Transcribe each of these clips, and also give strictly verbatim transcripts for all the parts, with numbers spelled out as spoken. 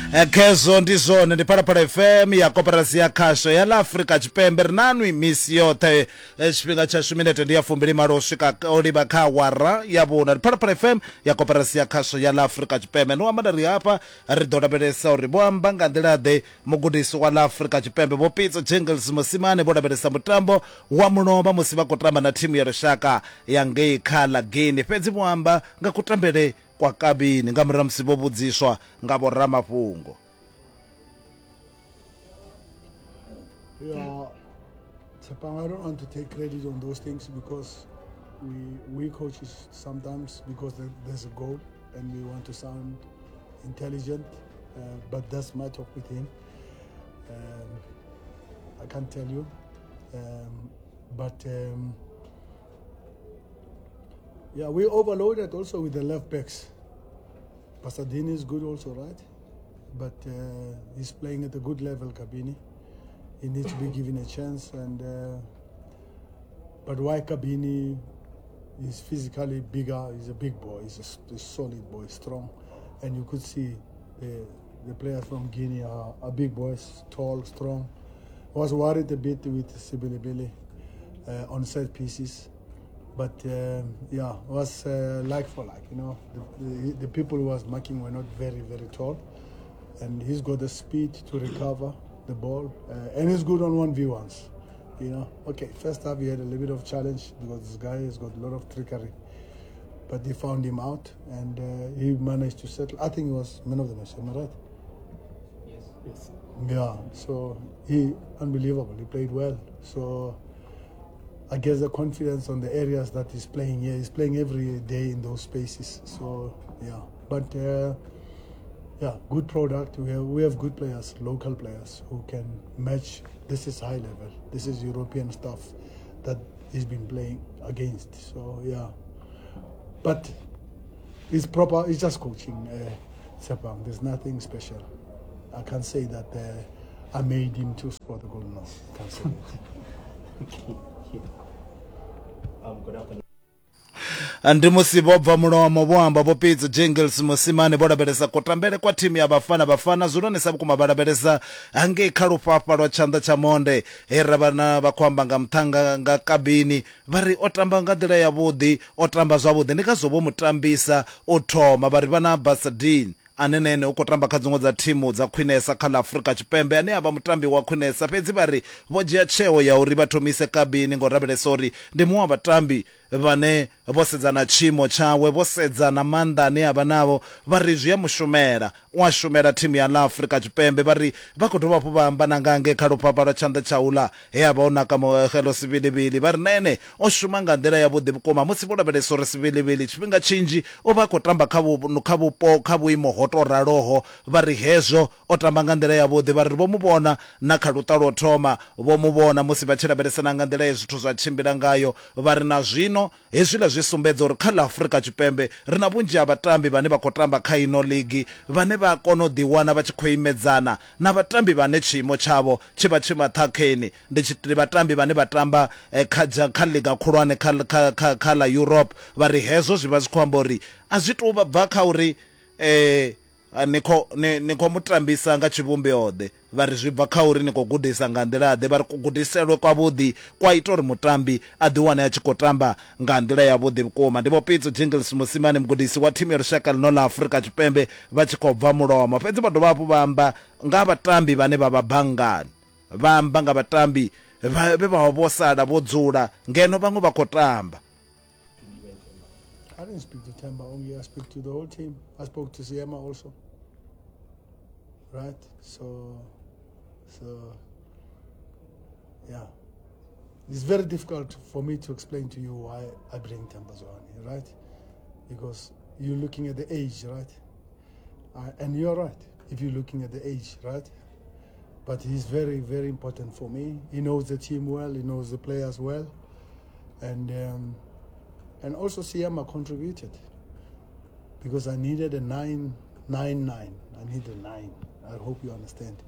Khezwo ndi zwone, ndi Phalaphala F M ya Koporasi ya Khasho ya ḽa Afrika Tshipembe. Ri na nwi misi yoṱhe, tshifhinga tshashu minete ndi ya fumbili malo u swika o livha kha awara ya vhuna. Ndi Phalaphala F M ya Koporasi ya Khasho ya ḽa Afrika Tshipembe. Ndi amba nda ri hafha ri ḓo lavhelesa uri vho amba nga nḓila ḓe mugudisi wa ḽa Afrika Tshipembe Vho Pitso Jingles Mosimane vho lavhelesa mutambo wa mulovha musi vha khou tamba na thimu ya lushaka ya ngei kha ḽa Guinea. Fhedzi vho amba nga kutambele kwa Kabini nga murahu musi vho vhudziswa nga vhoramafhungo. Yeah, Tshepang, I don't want to take credit on those things because we we coaches sometimes, because there's a goal and we want to sound intelligent, uh, but that's my talk with him. Um, I can't tell you, um, but um, yeah, we overloaded also with the left backs. Pasadena is good also, right? But uh, he's playing at a good level, Kabini. He needs to be given a chance. And uh, but why Kabini is physically bigger, he's a big boy, he's a, a solid boy, strong. And you could see the, the players from Guinea are, are big boys, tall, strong. I was worried a bit with Sibilibili uh, on set pieces. But um, yeah, it was uh, like for like, you know. The, the, the people who was marking were not very, very tall. And he's got the speed to recover the ball. Uh, and he's good on one v ones, you know. Okay, first half he had a little bit of challenge because this guy has got a lot of trickery. But they found him out and uh, he managed to settle. I think he was man of the match, am I right? Yes. Yes. Yeah, so he, unbelievable, he played well. So I guess the confidence on the areas that he's playing here. He's playing every day in those spaces. So, yeah. But, uh, yeah, good product. We have, we have good players, local players who can match. This is high level. This is European stuff that he's been playing against. So, yeah. But it's proper. It's just coaching, uh, Tshepang. There's nothing special. I can't say that uh, I made him to score the goal. No, I can't say that. Okay. Um, good afternoon. Ndi musi vho bva mulomo vho amba Vho Pitso Jingles Mosimane vho lavhelesa kutambele kwa thimu ya Bafana Bafana zwilonesa vhukuma vha lavhelesa hangei kha lufhafha lwa tshanḓa tsha monde he ra vha vha khou amba nga muṱhanga nga Kabini vha ri o tamba nga nḓila yavhuḓi, o tamba zwavhuḓi, ndi ngazwo vho mutambisa u thoma. Vha ri vha na Basadin ane na ene u khou tamba kha dziṅwe dza thimu dza khwinesa kha ḽa Afrika Tshipembe ane a vha mutambi wa khwinesa, fhedzi vha ri vho dzhia tsheo ya uri vha thomise Kabini ngo lavhelesa uri ndi muṅwe wa vhatambi vhane vho sedza na tshiimo tshawe, vho sedza na maanḓa ane a vha navho, vha ri zwi a mushumela, u a shumela thimu ya ḽa Afrika Tshipembe. Vha ri vha khou dovha hafhu vha amba na nga ngei kha lufhafha lwa tshanḓa tsha uḽa he a vha o naka Muhelo Sibilibili, vha ri na ene o shuma nga nḓila yavhuḓi vhukuma musi vho lavhelesa uri Sibilibili tshifhinga tshinzhi u vha a khou tamba kha kha vhupo kha vhuimo ho tou raloho, vha ri hezwo o tamba nga nḓila yavhuḓi. Vha ri vho mu vhona na kha luṱa lwo thoma, vho mu vhona musi vha tshi lavhelesana nga nḓila ye zwithu zwa tshimbila ngayo, vha ri na zwino hezwiḽa zwi sumbedza uri kha ḽa Afrika Tshipembe ri na vhunzhi ha vhatambi vhane vha khou tamba kha ino ligi vhane vha kona u ḓiwana vha tshi khou imedzana na vhatambi vhane tshiimo tshavho tshi vha tshi maṱhakheni. Ndi vhatambi vhane vha tamba kha kha liga khulwane kha kha kha ḽa Europe. Vha ri hezwo zwi vha zwi khou amba uri a zwi tou bva kha uri eh ni khou ni khou mutambisa nga tshivhumbeo ḓe, vha ri zwi bva kha uri ni khou gudisa nga nḓila ḓe. Vha ri kugudiselwe kwavhuḓi kwa ita uri mutambi a ḓiwane a tshi khou tamba nga nḓila yavhuḓi vhukuma. Ndi Vho Pitso Jingles Mosimane, mugudisi wa thimu ya lushaka ḽino ḽa Afrika Tshipembe, vha tshi khou bva mulomo. Fhedzi vha dovha hafhu vha amba nga vhatambi vhane vha vha banngani, vha amba nga vhatambi vhe vha vha vho sala vho dzula ngeno vhaṅwe vha khou tamba. I didn't speak to Themba only, I spoke to the whole team. I spoke to Siema also. Right? So, so, yeah. It's very difficult for me to explain to you why I bring Themba Zwane, right? Because you're looking at the age, right? Uh, and you're right, if you're looking at the age, right? But he's very, very important for me. He knows the team well, he knows the players well. And, um, and also Siema contributed because I needed a nine, nine, nine. I need a nine. I hope you understand.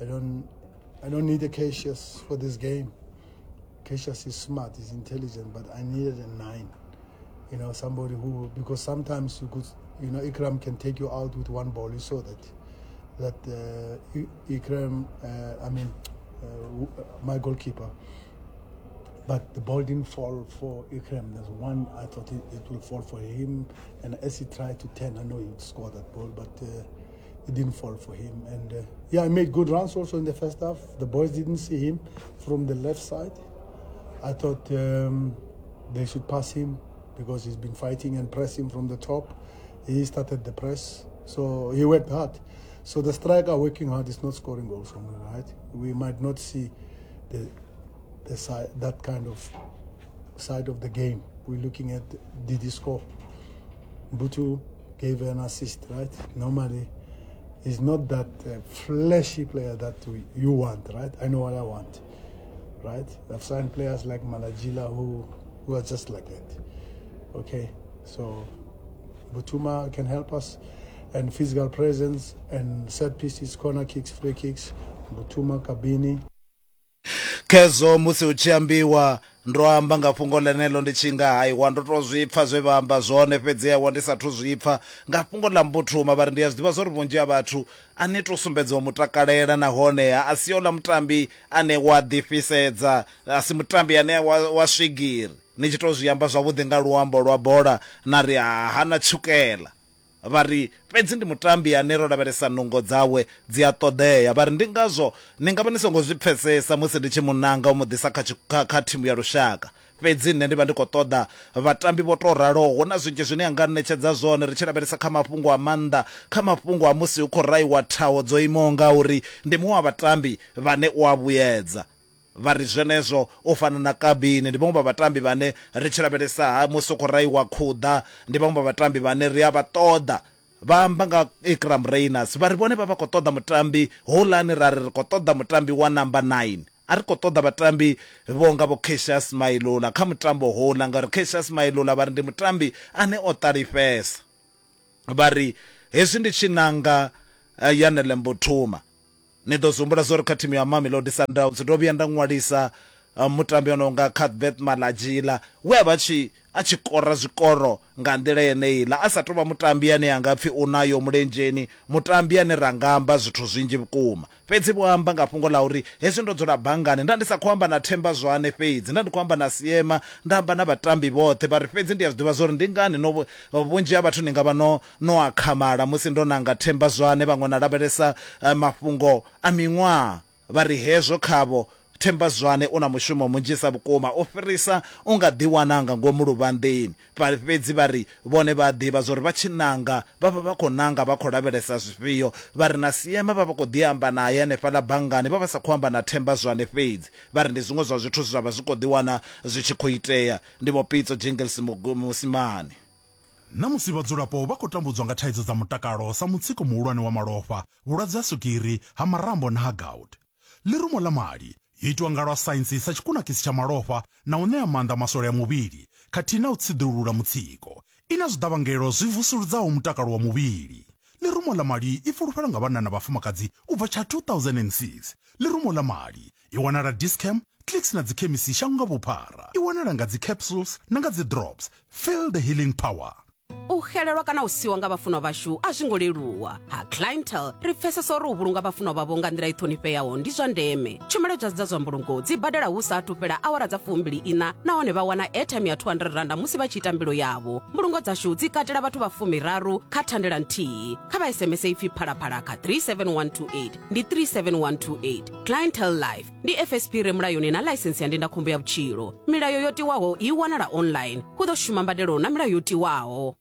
I don't, I don't need a Cassius for this game. Cassius is smart, he's intelligent, but I needed a nine. You know, somebody who, because sometimes you could, you know, Ikram can take you out with one ball. You saw that. that uh, Iqraam, uh, I mean, uh, my goalkeeper. But the ball didn't fall for Iqraam. There's one, I thought it, it will fall for him. And as he tried to turn, I know he would score that ball, but uh, it didn't fall for him. And uh, yeah, I made good runs also in the first half. The boys didn't see him from the left side. I thought um, they should pass him because he's been fighting and pressing from the top. He started the press, so he worked hard. So the striker working hard is not scoring goals only, right? We might not see the, the side, that kind of side of the game. We're looking at, did he score? Butu gave an assist, right? Normally, he's not that uh, flashy player that we, you want, right? I know what I want, right? I've signed players like Malajila who, who are just like that. Okay, so Butuma can help us, and physical presence and set pieces, corner kicks, free kicks, Butuma, Kabini. Kezo musi u tshi ambiwa ndo amba nga fhungo ḽeneḽo ndi tshi nga haiwa ndo to zwi pfa zwe vha amba zwone, fhedzi aiwa ndi sathu zwi pfa nga fhungo ḽa Mbuthuma. Vha ri ndi a zwi ḓivha zwa uri vhunzhi ha vhathu a ni to sumbedza u mutakalela, nahone a si ola mutambi ane wa ḓifhisedza, a si mutambi ane wa, wa swigiri. Ni tshi to zwi amba zwavhuḓi nga luambo lwa bola na ri ha hana tshukela. Vha ri fhedzi ndi mutambi ane ro lavhelesa nungo dzawe dzi a ṱoḓea. Vha ri ndi ngazwo ni nga vha ni songo zwi pfesesa musi ndi tshi munanga u mu ḓisa kha kha thimu ya lushaka, fhedzi nṋe ndi vha ndi khou ṱoḓa vhatambi vho to raloho. Hu na zwinzhi zwine a nga ṋetshedza zwone ri tshi lavhelesa kha mafhungo a maanḓa, kha mafhungo a musi hu khou raiwa thaho dzo imaho ngauri ndi muṅwe wa vhatambi vhane u a vhuyedza. Vha ri zwenezwo u fana na Kabini ndi vhaṅwe vha vhatambi vhane ri tshi lavhelesa ha musi u khou raiwa khuḓa, ndi vhaṅwe vha vhatambi vhane ri a vha ṱoḓa. Vha amba nga Iqraam Rayners, vha ri vhone vha vha khou ṱoḓa mutambi houḽani, ra ri ri khou ṱoḓa mutambi wa number nine. A ri khou ṱoḓa vhatambi vho nga vho Cassius Mailula kha mutambo houḽa, ngauri Cassius Mailula vha ri ndi mutambi ane o ṱalifhesa. Vha ri hezwi ndi tshi nanga Yanele Mbuthuma, ni ḓo zumbula zwo ri kha thimu ya Mamelodi Sundowns ndo vhuya nda ṅwalisa uh, mutambi ono nga Cuthbert Malajila we a vha tshi a tshi kora zwikoro nga nḓila yeneiḽa, a sa tou vha mutambi ane a nga pfhi u nayo mulenzheni, mutambi ane ra nga amba zwithu zwinzhi vhukuma. Fhedzi vho amba nga fhungo ḽa uri hezwi ndo dzula banngani nda ndi sa khou amba na Themba Zwane fhedzi, nda ndi khou amba na Siema, nda amba na vhatambi vhoṱhe. Vha ri fhedzi ndi a zwi ḓivha zwa uri ndi ngani no vhunzhi ha vhathu ni nga vha no no akhamala musi ndo nanga Themba Zwane, vhaṅwe na lavhelesa uh, mafhungo a miṅwaha. Vha ri hezwo khavho Themba Zwane u na mushumo munzhisa vhukuma u fhirisa u nga ḓiwana nga ngomu luvhanḓeni. Fhedzi vha ri vhone vha ḓivha zwa uri vha tshi nanga vha vha vha khou nanga vha khou lavhelesa zwifhio. Vha ri na Siema vha vha khou ḓi amba naye hanefhaḽa banngani, vha vha sa khou amba na Themba Zwane fhedzi. Vha ri ndi zwiṅwe zwa zwithu zwa vha zwi khou ḓiwana zwi tshi khou itea. Ndi Vho Pitso Jingles Mosimane. Na musi vhadzulapo vha khou tambudzwa nga thaidzo dza mutakalo sa mutsiko muhulwane wa malofha, vhulwadze ha swigiri, ha marambo na ha gout, ḽirumo ḽa mali yo itwa nga lwa saintsi sa tshikunakisi tsha malofha na u ṋea maanḓa maswole a muvhili khathihi na u tsiḓulula mutsiko. I na zwiḓavhangelo zwi vusuludzaho mutakalo wa muvhili. Ḽirumo ḽa mali i fulufhelwa nga vhanna na vhafumakadzi u bva tsha two thousand and six. Ḽirumo ḽa mali i wanala Dischem, Clicks na dzikhemisi shango nga vhuphara. I wanala nga dzi capsules na nga dzi drops. Feel the healing power. U xelelwa kana u siwa nga vhafunwa vhashu a zwi ngo leluwa. Ha Clientele ri pfesesa uri u vhulunga vhafunwa vhavho nga nḓila i ṱhonifheaho ndi zwa ndeme. Tshumelo dza zwa mbulungo dzi badela hu sa athu fhela awara dza fumbili ina, nahone vha wana airtime ya two hundred randa musi vha tshi ita mbilo yavho. Mbulungo dzashu dzi katela vhathu vha fumiraru kha thandela nthihi. Kha vha S M S ipfi phalaphala kha three seven one two eight ndi three seven one two eight. Clientele Life ndi F S P re mulayoni na ḽaisensi ya ndindakhombo ya vhutshilo. Milayo yo tiwaho i wanala online. Hu ḓo shuma mbadelo na milayo yo tiwaho.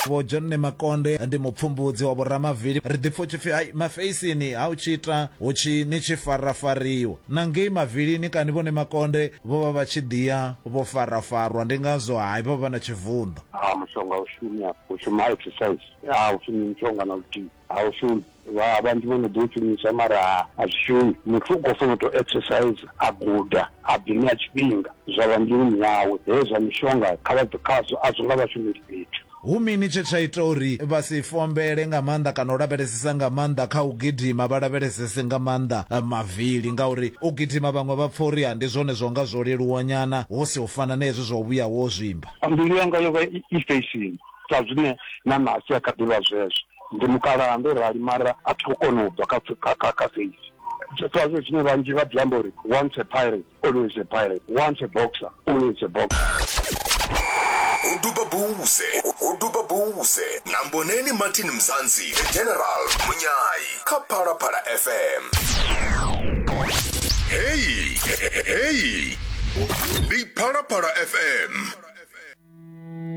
Vho John Makonde ndi mupfumbudzi wa vhoramavili. Ri ḓipfa tshipfi hai mafeisini ha u tshi ita hu tshi ni tshi farafariwa na ngei mavilini kani vhone Makonde vho vha vha tshi ḓiya vho farafarwa, ndi ngazwo hai vho vha na tshivunḓo. A mushonga u shumi u shuma exercise a u shumi mushonga na luthihi a u shumi. Vha vhanzhi vho no ḓo shumisa mara a zwi shumi. Muthu u khou fanela u tou exercise a guda a ḓiṋea tshifhinga zwa vha mbiluni yawe. Hezwi zwa mishonga kha vha khazwo a zwi nga vha shumeli fhethu. Hu mini tshe tsha ita uri vha si fombele nga maanḓa kana u lavhelesesa nga maanḓa kha u gidima, vha lavhelesese nga maanḓa mavili? Ngauri u gidima vhaṅwe vha pfa uri ndi zwone zwo nga zwo leluwa nyana, hu si u fana na hezwi zwa u vhuya wo zwimba. Mbilu yanga yo vha i facing sa zwine na ṋasi a kha ḓivha zwezwo. Ndi mukalaha ndo rali mara a thi khou kona u bva kha kha kha face. Zwazwo zwine vhanzhi vha ḓi amba uri once a pirate always a pirate, once a boxer always a boxer. Uduba buse, uduba buse. Na Mboneni Martin Mzansi, The General Munyai, kha Phalaphala F M. Hey, hey, ndi Phalaphala F M.